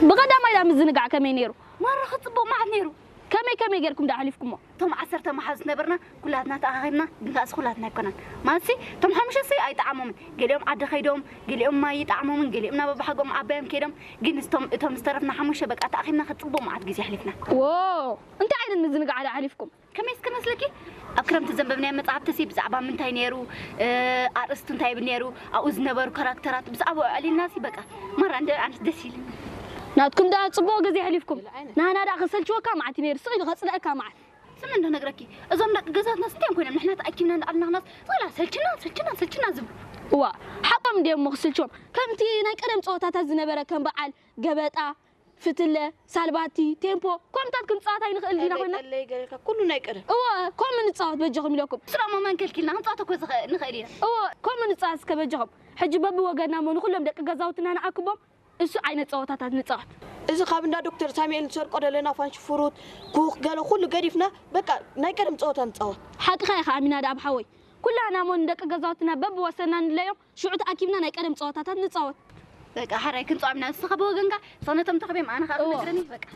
ብቐዳማይ ዳ ምዝንጋዕ ከመይ ነይሩ? ማራ ክጽቡቕ መዓት ነይሩ። ከመይ ከመይ ጌርኩም ዳ ኣሕሊፍኩሞ? እቶም ዓሰርተ መሓዙት ነበርና ኩላትና ተኣኻኺብና፣ ግን ከኣስ ኩላትና ኣይኮናን። ማለትሲ እቶም ሓሙሽተ ሲ ኣይጠዓሞምን። ገሊኦም ዓዲ ከይዶም፣ ገሊኦም ማይ ይጠዓሞምን፣ ገሊኦም ናብ ኣባሓጎም ዓባዮም ከይዶም። ግን እቶም እቶም ዝተረፍና ሓሙሽተ በቃ ተኣኺብና ክጽቡቕ መዓት ግዜ ኣሕሊፍና። ዎ እንታይ ዓይነት ምዝንጋዕ ዳ ኣሕሊፍኩም? ከመይ እስከ መስለኪ ኣብ ክረምቲ ዘንበብናዮ መጽሓፍቲ ሲ ብዛዕባ ምንታይ ነይሩ፣ ኣርእስቱ እንታይ ይብል ነይሩ፣ ኣብኡ ዝነበሩ ካራክተራት ብዛዕባ ኣዕሊልና ሲ በቃ ማራ እንደ ኣንስ ደስ ኢልና። ናትኩም ዳ ጽቡቕ ግዜ ኣሕሊፍኩም። ናህና ዳ ክሰልችወካ መዓት ነይሩ ስቕ ኢሉ ከጽልአካ መዓት። ስም እንዶ ነግረኪ እዞም ደቂ ገዛትና ስንቲኦም ኮይኖም ንሕና ተኣኪብና እንዳኣልናኽናስ ዝላ ሰልችና ሰልችና ሰልችና ዝብሉ። እዋ ሓቆም እንዲኦም እሞ ክስልችዎም። ከምቲ ናይ ቀደም ጸወታታት ዝነበረ ከም በዓል ገበጣ፣ ፍትለ፣ ሳልባቲ፣ ቴምፖ፣ ከምታት ክንጻወት ኣይንኽእል ዲና ኮይና። ቀለይ ገለካ ኩሉ ናይ ቀደም። እወ ከምኡ ንጻወት በጃኹም ኢለኩም። ስራሞ መን ከልኪልና ክንጻወት እኮ ዝኸ- ንኽእል ኢና። እወ ከምኡ ንጻወት እስከ በጃኹም። ሕጂ በብወገንና እሞ ንኹሎም ደቂ ገዛውትና ንኣክቦም እሱ ዓይነት ጸወታታት ንጻወት። እዚ ካብ እንዳ ዶክተር ሳሙኤል ንሰርቆ ዘለና ፋንሽፉሩት፣ ኩኽ፣ ገለ ኩሉ ገዲፍና በቃ ናይ ቀደም ጸወታ ንጻወት። ሓቅኻ ኢኻ ኣሚናድኣብ ሓወይ። ኩላህና እሞ ንደቂ ገዛውትና በብወሰንና ንለዮም ሽዑ ተኣኪብና ናይ ቀደም ጸወታታት ንጻወት። በቃ ሓራይ ክንጻወት ኢና ንስኻ ብወገንካ እሳ ነቶም ተኽቤም ኣነ ኸኣ እዎ። ክነግረኒ በቃ።